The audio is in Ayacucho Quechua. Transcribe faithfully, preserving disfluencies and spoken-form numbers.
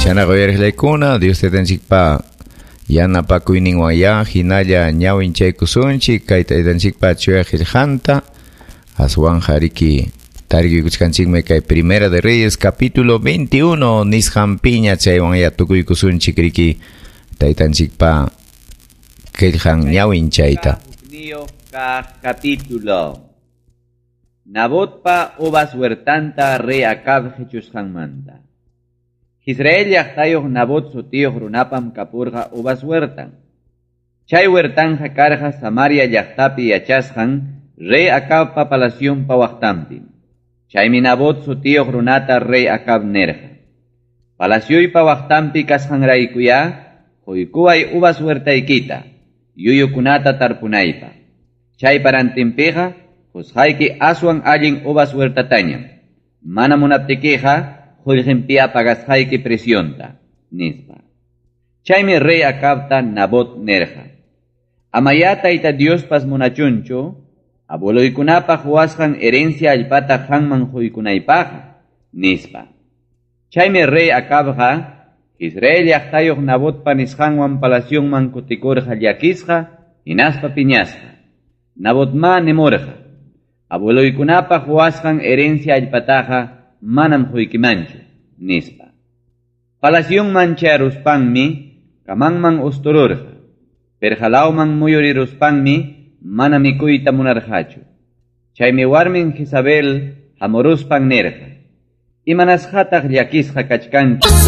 Chaynaqa uyariqlaykuna Dios taytanchikpa yanapakuyninwanya hinalla ñawinchaykusunchik kay taytanchikpa chuya qillqanta aswanqa riki tarikuykuchkanchikmi kay Primera de Reyes capítulo veintiuno nisqanpiña chaywanya tukuykusunchik riki taytanchikpa qillqan ñawinchayta. Capítulo Nabotpa uvas huertanta rey Acab qichusqanmanta. Israel llaqtayuq Nabot sutiyuq runapam kapurqa uvas huertan. Chay huertanja karqa Samaria llaqtapi yachasqan rey Acabpa palacionpa waqtanpi. Chaymi Nabot sutiyuq runata rey Acab nerqa. Palacioypa waqtanpi kasqanraykuya quykuway uvas huertaykita, yuyukunata tarpunaypa. Chay parantinpiqa qusqayki aswan allin uvas huertatañam. Mana munaptikiqa qullqinpiya pagasqayki presionta, nispa. Chaymi rey Acabta Nabot nerqa. Amaya tayta Diospas munachunchu, abueloykunapaq huasqan herencia allpata qanman quykunaypaqqa, nispa. Chaymi rey Acabqa Israel llaqtayuq Nabotpa nisqanwan palacionman kutikurqa llakisqa, hinaspa piñasqa. Nabotma nimurqa, abueloykunapaq huasqan herencia allpataqa manam quykimanchu, nispa. Palacionman chayaruspanmi kamanman ustururqa. Perjalawman muyuriruspanmi mana mikuyta munarqachu. Chaymi warmin Jezabel hamuruspan nirqa, imanasqataq llakisqa kachkanki?